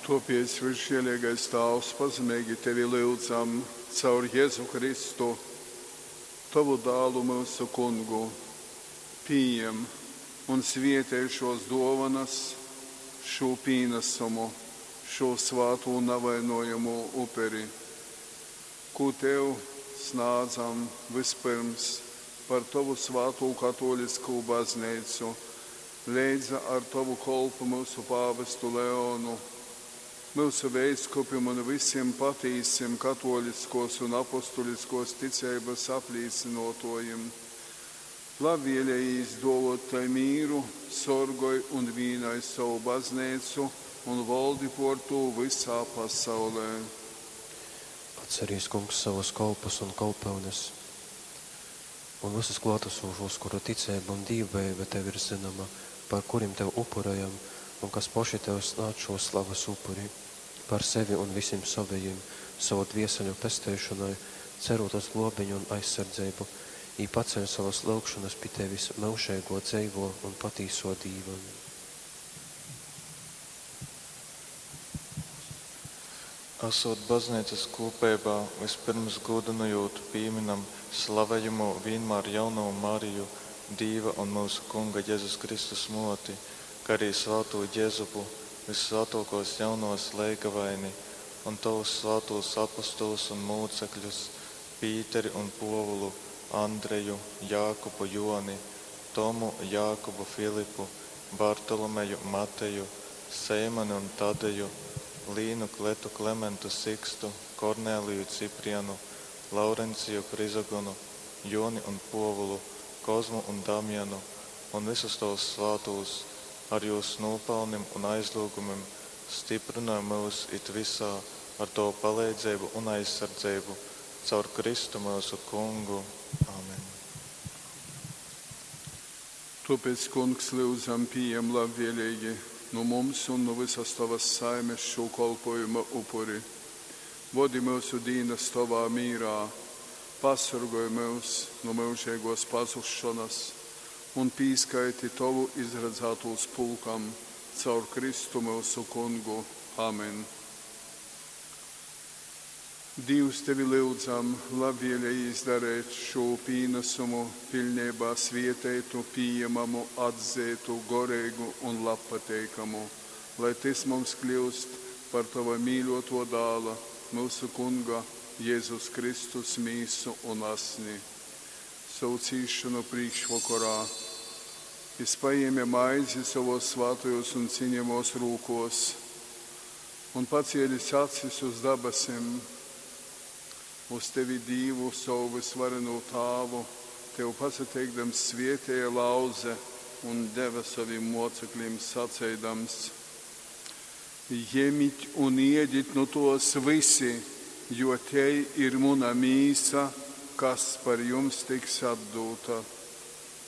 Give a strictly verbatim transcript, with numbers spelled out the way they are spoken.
Tōpēc, vysžēleigais Tāvs, pazemeigi tevi lyudzam caur Jezu Kristu, tovu Dālu, myusu Kungu, pījem un svētej šōs dōvonas, šū pīnasumu, šū svātū navainojamū uperi, kū tev snādzam vyspyrms par tovu svātū katōliskū bazneicu leidza ar tovu kolpu myusu pāvestu Leonu, myusu veiskupim un vysim patīsim katōliskōs un apostuliskōs ticeibas aplīcynōtōjim. Labvēlejīs dōvōt tai mīru, sorgoj un vīnoj sovu bazneicu un voldi pōr tū vysā pasaulē. Atcerīs, Kungs, savus kolpus un kolpyunes un vysus klōtasūšūs, kuru ticeiba un dīvbejeiba tev ir zynoma, par kurim tev upurejam un kas poši tev snādz šū slavas upuri. Par sevi un vysim sovejim, sovu dvieseļu pesteišonai, cerūt uz glōbeņu un aizsardzeibu, jī paceļ sovas lyugšonas pi tevis, myužeigō, dzeivō un patīsō Dīva. Asūt bazneicas kūpeibā, vyspyrms gūdynojūt pīmynam slavejamū vīnmār jaunovu Mariju, Dīva un myusu Kunga Jezus Kristus mōti, kai arī svātū Jezupu, vyssvātōkōs jaunovas leigavaini un tovus svātūs apostolus un mūcekļus, Pīteri un Pōvulu, Andreju, Jākubu, Jōni, Tomu, Jākubu, Filipu, Bartolomeju, Mateju, Seimani un Tadeju, Līnu, Kletu, Klementu, Sikstu, Kornēliju, Ciprianu, Laurenciju, Chrizogonu, Jōni un Pōvulu, Kozmu un Damjanu un vysus tovus svātūs, ar jūs nūpalnim un aizlyugumim styprynoj myus it vysā ar tovu paleidzeibu un aizsardzeibu caur Kristu myusu Kungu. Amen. Tōpēc, Kungs, lyudzam, pījem labvēleigi nu mums un nu vysas tovas saimes šū kolpōjuma upuri. Vodi myusu dīnas tovā mīrā, pasorgoj myus nu myužeigōs pazusšonas un pīskaiti tovu izradzātūs pulkam caur Kristu myusu Kungu. Amen. Dīvs, tevi lyudzam, labvēlejīs dareit šū pīnasumu piļneibā svieteitu, pījemamu, atzeitu, goreigu un labpateikamu, lai tys mums kļyust par tova mīļōtō Dāla, myusu Kunga Jezus Kristus mīsu un asni. Sovu cīsšonu prīškvokorā jys pajēme maizi sovōs svātajōs un ciņejamōs rūkōs un, pacēlis acis uz dabasim, uz tevi, Dīvu, sovu vysvarenū Tāvu, tev pasateikdams svētēja, lauze un deve sovim mōceklim saceidams: Jemit un ēdit nu tōs vysi, jo tei ir muna mīsa, kas par jums tiks atdūta.